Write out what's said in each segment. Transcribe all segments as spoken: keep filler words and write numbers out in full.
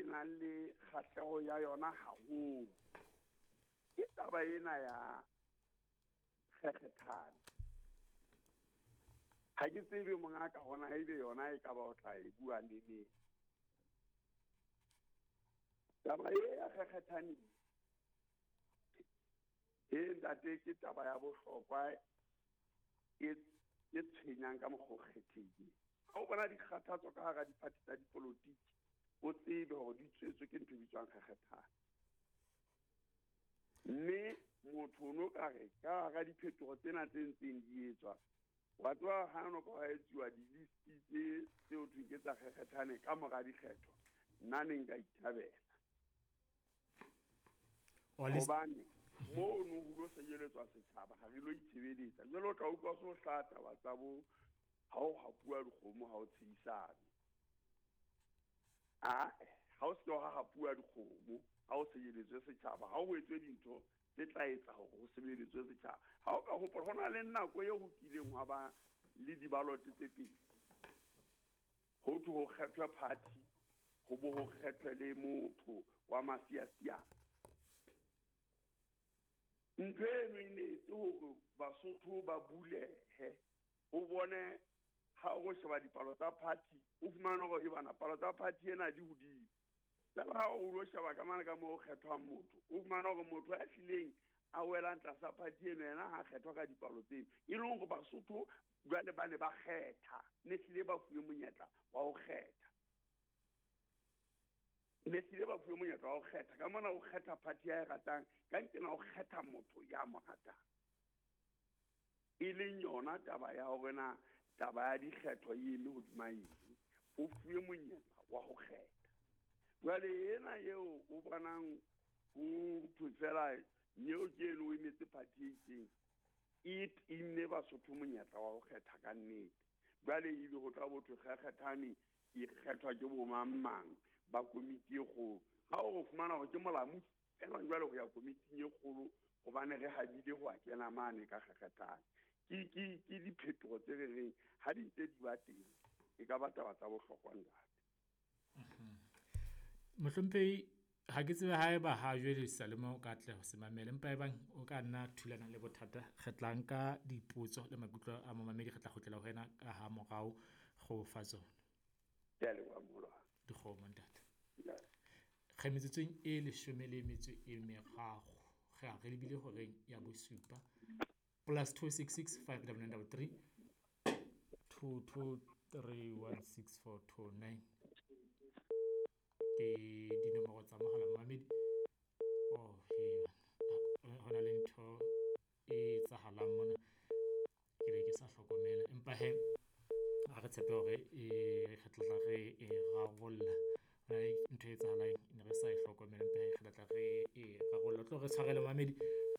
nang le kgahleho ya yona haholo ke taba ena ya kgekgethane. Ha ke tsebe mongaka hona ebe yona e ka ba o tla e bua le neng. Taba e ya kgekgethane e ntate ke taba ya bohlokwa e e tshwenyang ka mokgwa o kgethehileng. Ha o bona dikgathatso ka hara diphathi tsa dipolotiki, o tsebe hore di tswetswe ke ntho e bitswang kgekgethane. Mme motho o no ka re ka hara diphetoho tsena tse ntseng di etswa, wa tseba ha no ka hwa etsuwa di-list tse tseo thweng ke tsa kgekgethane ka mora dikgetho, nna ne nka ithabela. Hobane mono ho lo senyeletswa setjhaba, ha re lo itshebeletsa. Jwale o tla utlwa so hlaha taba tsa bo ha o hapuwa dikgomo ha o tshehisane. Ah, ha o se wa hapuwa dikgomo ha o senyeletswe setjhaba, ha o etswe dintho tse tla etsa hore ho sebeletswe setjhaba. Ha o ka hopola ho na le nako eo ho kileng hwa ba le di-ballot tse pedi. Ho thwe ho kgethwe party, ho bo ho kgethwe le motho wa masiasiane. Ntho eno e ne etse hore Basotho ba bulehe, o bone ha o sheba dipalo tsa party, o fumane hore e bana palo tsa party ena di hodimo. Jwale ha o lo sheba ka mane ka moo ho kgethwang motho, o fumane hore motho ya hlileng a welang tlasa party eno yena ha kgethwa ka dipalo tseno. E leng hore Basotho jwale ba ne ba kgetha, ne hlile ba fuwe monyetla wa ho kgetha. Ne hlile ba fuwe monyetla wa ho kgetha. Ka mona o kgetha party ya e ratang, ka nqena o kgetha motho ya mo ratang. E leng yona taba ya hore na taba ya dikgetho e eme hodima eng, o fuwe monyetla wa ho kgetha. Jwale ena eo o bonang ho thwe fela nyeo ke eno o emetse party e itseng, e timme Basotho monyetla wa ho kgetha ka nnete. Jwale ebe ho tla bo thwe kgekgethane e kgethwa ke bo mang mang ba komiti e kgolo. Ha o fumana hore ke molamu fela jwale ho ya komiting e kgolo hobane re habile ho a kena mane ka kgekgethane. Ke, ke, ke diphetoho tse re reng ha di ntse di ba teng, e ka ba taba tsa bohlokwa ntate. Mohlomphehi, ha ke tsebe haeba ha jwale Salema o ka atleha ho se mamela, empa ebang o ka nna thulana le bothata, re tla nka dipotso le maikutlo a momamedi, re tla kgutlela ho wena ka ha morao go fa tsona. Ke a leboha moholo. Dikgomo ntate. Re metsotsong e leshome le metso e meraro, re a re lebile horeng ya bosupa. Plus two six six five double nine double three two two three one six four two nine ke dinomoro tsa mohala momamedi. Oh, he ho na le ntho e etsahalang mona, ke be ke sa hlokomela, empa he ha re tshepe hore e re tla tla re e rarolla. Ho na le ntho e etsahalang ne re sa e hlokomela, empa he re tla tla re e rarolla. Tlo re tshwarele momamedi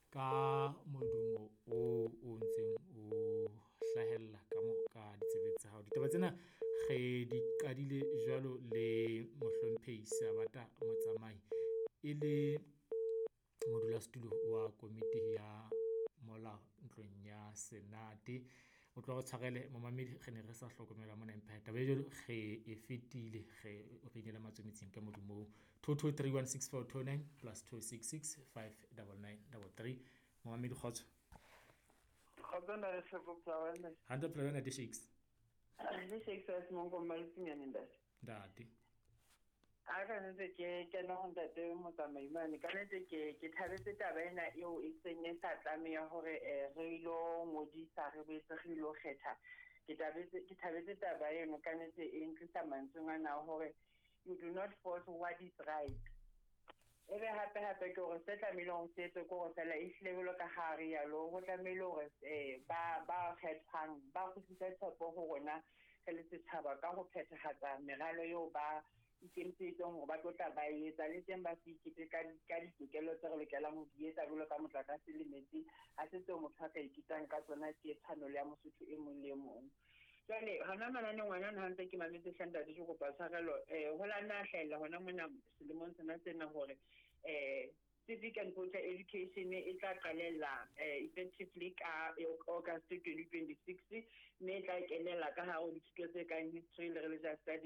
ka modumo o o ntseng o hlahella ka mo ka ditsebe tsa hao. Ditaba tsena re di qadile jwalo le mohlomphehi Sabata Motsamai e le modulasetulo wa komiti ya molao ntlong ya Senate. O tlo re tshwarele momamedi, re ne re sa hlokomela mona, empa taba e jwalo re e fetile, re re inela matsometseng ka modumo oo. two two three one six four two nine plus two six six five double nine double three. Momamedi kgotso. Kgotso ntate Hloko Phelawana. Hantle Phelawana ntate Shakes. Le Shakes wa Semonko Mmaletseng ntate. Ntate. A ka nnete ke kena ho ntate Motsamai mane, ka nnete ke ke thabetse taba ena eo e seng e sa tlameha hore re ilo ngodisa, re boetse re ilo kgetha. Ke thabetse ke thabetse taba eno ka nnete e ntlisa mantsweng ana hore you do not force what is right. Ebe hape hape ke hore se tlamehile hore se etswe ke hore fela e hlile jwalo ka ha re yalo, ho tlamehile hore ba ba kgethwang ba kgutlise tshepo ho rona re le setjhaba ka ho phethahatsa meralo eo ba ikemiseditseng hore ba tlo tla ba etsa, le teng ba se ikete ka ka ditokelo tse re lokelang ho di etsa jwalo ka motlakase le metsi. Ha se tseo motho a ka iketang ka tsona, ke tshwanelo ya Mosotho e mong le e mong. Jwale hona manane ngwana ha ntse ke mametse hle ntate, ke kopa tshwarelo, eh ho la nna hlahella hona mona selemong sena sena hore eh civic and voter education e tla qalella effectively ka August twenty twenty-six, mme e tla kenella ka hare ho dithuto tse kang history le religious studies.